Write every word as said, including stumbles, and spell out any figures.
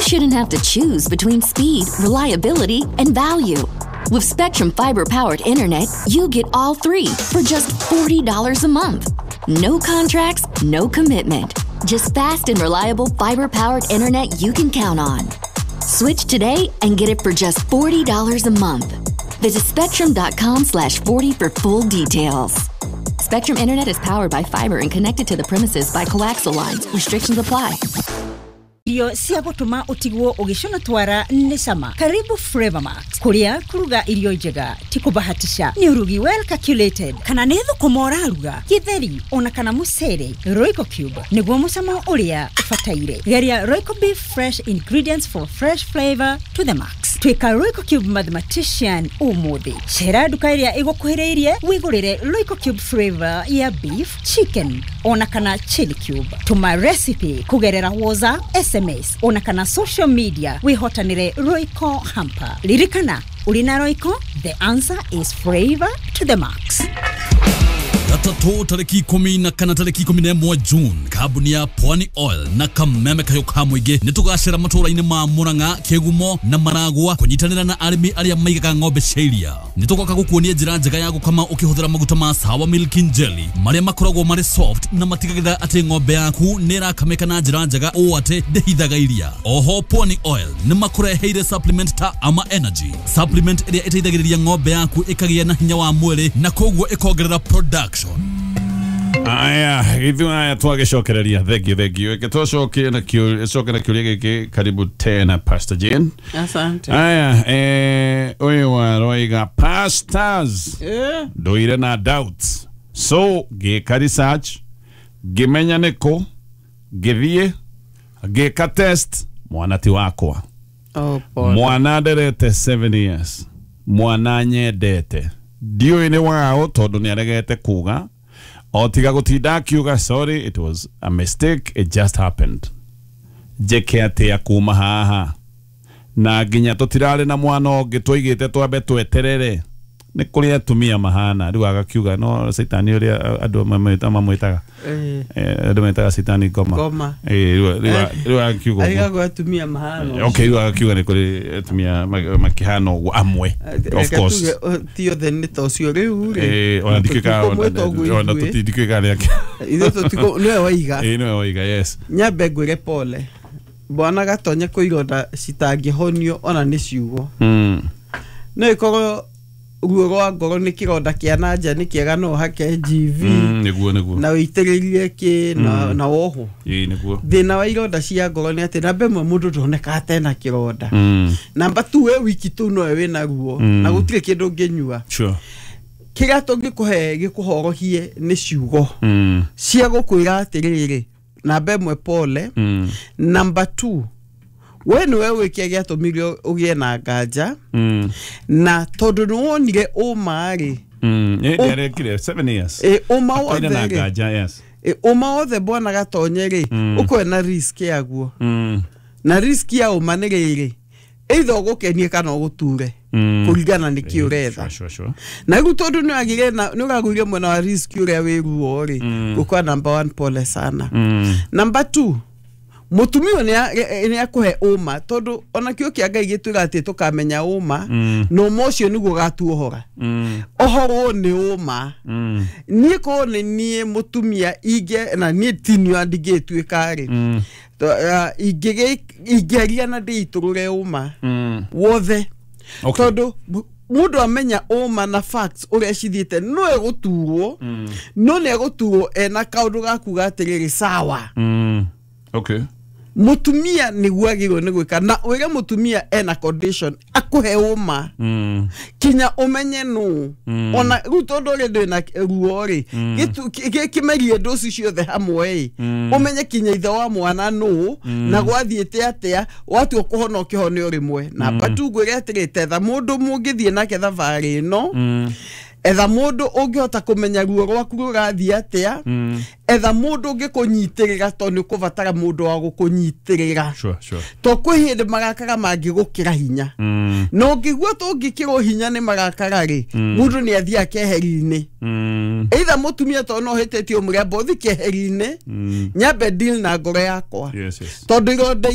shouldn't have to choose between speed, reliability, and value. With Spectrum Fiber powered internet, you get all three for just forty dollars a month. No contracts, no commitment. Just fast and reliable fiber powered internet you can count on. Switch today and get it for just forty dollars a month. Visit spectrum dot com slash forty for full details. Spectrum Internet is powered by fiber and connected to the premises by coaxial lines. Restrictions apply. Irio cia gũtũma ũtigwo ũgĩcũna twara nĩ cama. Karibu Flavor Max, kũrĩa kũruga irio njega ti kũbahatisha, nĩ ũrugi well calculated. Kana nĩ thũkũma ũraruga, gĩtheri, ona kana mũcere, Royco Cube nĩguo mũcamo ũrĩa ũbataire. Geria Royco Beef, fresh ingredients for fresh flavor to the max. Tuĩka Royco Cube mathematician ũmũthĩ. Cera nduka ĩrĩa ĩgũkuhĩrĩirie wĩgũrĩre Royco Cube flavor ya beef, chicken, ona kana chili cube. Tũma recipe kũgerera WhatsApp, S M S, ona kana social media wĩhotanĩre Royco hamper. Ririkana, ũrĩ na Royco, the answer is flavor to the max. Gatatũ tarĩki ikũmi na kana tarĩki ikũmi na ĩmwe June, kambuni ya Pwani Oil na Kameme Kayo ka Mũingĩ nĩ tũgacera matũũra-inĩ ma Murang'a, Kĩgumo na Maragwa kũnyitanĩra na arĩmi arĩa maigaga ng'ombe cia iria. Nĩ tũgoka gũkuonia njĩra njega ya gũkama ũkĩhũthĩra maguta ma Sawa Milk Jelly marĩa makoragwo marĩ soft na matigagĩrĩra atĩ ng'ombe yaku nĩ ĩrakamĩka na njĩra njega ũũ atĩ ndĩhithaga iria. Oho Pwani Oil nĩ makũreheire supplement ta Ama Energy supplement ĩrĩa ĩteithagĩrĩria ng'ombe yaku ĩkagĩa na hinya wa mwĩrĩ na koguo ĩkongerera production. Aya, ithuĩ aya twagĩcokereria. Thank you, thank you. Reke tũcoke na kĩũria, coke na kĩũria gĩkĩ. Karibu tena, Pastor Jane. Asante. Aya, eh, ũyũ waroiga, "Pastors, Eh, ndũire na doubts, so ngĩka research, ngĩmenya nĩkũ, ngĩthiĩ ngĩka test, mwana ti wakwa." Oh, pole. "Mwana nderete seven years, mwana nyendete, ndiũĩ nĩ waũ tondũ nĩ aregete kuga o tiga gũtinda akiuga, 'Sorry, it was a mistake, it just happened.' Njĩke atĩa kuma haha? Na nginya tũtirarĩ na mwana ũngĩ, twaigĩte twambe tweterere." Nĩ kũrĩ atumia mahana rĩu agakiuga no caitani ũrĩa andũ mamwĩta- mamwĩtaga. Eh, Eh, andũ metaga caitani ngoma. Ngoma. Eh, rĩu- rĩu rĩu agakiuga ũguo. Arigagwo atumia mahana. Okay, rĩu agakiuga nĩ kũrĩ atumia ma- makĩhana ũguo amwe, of course. Ti othe nĩ ta ũcio rĩu rĩ. Eh, ona ndikĩka Tũtikũmwĩta ũguo ona ithuĩ. tũtindikĩka nĩ ake. Ithuĩ tũtikũ nĩwe waiga. Ĩĩ, nĩwe waiga, yes. Nyambe ngwĩre pole, bwana Gatonye, kwĩ ironda citangĩhonio ona nĩ ciugo. Mm. No ĩkorwo ruo rwa ngoro nĩ kĩronda kĩa na nja, nĩ kĩega no ũhake G V Mm, nĩguo nĩguo na wĩitĩrĩrie kĩ na, na woho. Ĩĩ, nĩguo. Thĩna wa ironda cia ngoro nĩ atĩ namba ĩmwe, mũndũ ndonekaga tena kĩronda. Mm. Namba tu, we wiki tu nowe wĩna ruo Mm. na gũtirĩ kĩndũ ũngĩnyua. Sure. Kĩrĩa tũngĩkũhe gĩkũhorohie nĩ ciugo Mm. cia gũkwĩra atĩrĩrĩ, namba ĩmwe, pole. Mm. Namba two, we nĩwe wĩke gĩatũmire ũgĩe na nganja Mm. na tondũ nĩwonire ũma rĩ. Mm. Ĩ, nĩarekire seven years. Ĩ, ũma Akaire na wothe rĩ. nganja, yes. Ĩ, ũma wothe, bwana Gatonye rĩ, Mm. ũkwe na risk yaguo. Mm. Na risk ya ũma nĩ rĩrĩ, either ũgũkenie kana ũgũture, Mm. kũringana nĩ kĩ ũretha. Sure, sure, sure. Na rĩu tondũ nĩ wagĩire na nĩ ũragũire mwena wa risk ũrĩa wĩ ruo rĩ, Mm. gũkwa number one, pole sana. Mm. Number two, mũtumia ũyũ nĩ nĩ akũhe ũma, tondũ ona kĩo kĩa Ngai gĩtwĩra atĩ tũkamenya ũma, Mm. na ũma ũcio nĩguo ũgatuohora. Mm. Ohorwo nĩ ũma. Mm. Niĩ korwo nĩ niĩ mũtumia ingĩ na niĩ tinio ndingĩtuĩka rĩ, Mm. ingĩaria na ndĩitũrũre ũma Mm. wothe, Okay. tondũ bu- mũndũ amenya ũma na facts ũrĩa cithiĩte, no egũturwo, no nĩ egũturwo ena kaũndũ ga kuga atĩrĩrĩ, sawa. Mm. Okay. Mũtumia nĩguo agĩrĩirwo nĩ gwĩka, na wĩre mũtumia ena condition akũhe ũma Mm. kinya ũmenye nũ. Mm. Ona rĩu tondũ ũrĩ ndwĩ na ruo rĩ, gĩtu- kĩ- kĩ- kĩmerie ndũci ciothe hamwe ĩ, Mm. ũmenye kinya ithe wa mwana nũ na gwathiĩte atĩa, watua kũhona ũkĩhone o rĩmwe. Namba tu, ngwĩre atĩrĩ, tetha mũndũ mũngĩthiĩ nake thabarĩ ĩno. Mm. Etha mũndũ ũngĩhota kũmenya ruo rwaku rũrathiĩ atĩa. Mm. Etha mũndũ ũngĩkũnyitĩrĩra, tondũ nĩ ũkũbatara mũndũ wa gũkũnyitĩrĩra. Sure, sure. To kwĩ hĩndĩ marakara mangĩgũkĩra hinya, Mm. na ũngĩigua tũngĩkĩrwo hinya nĩ marakara rĩ, mũndũ nĩ athiaga keheri-inĩ. Mm. Either mũtumia tondũ no hĩtĩtie ũmũrĩa mbothi keheri-inĩ, Mm. nyambe deal na ngoro yakwa, Yes, yes. tondũ ironda.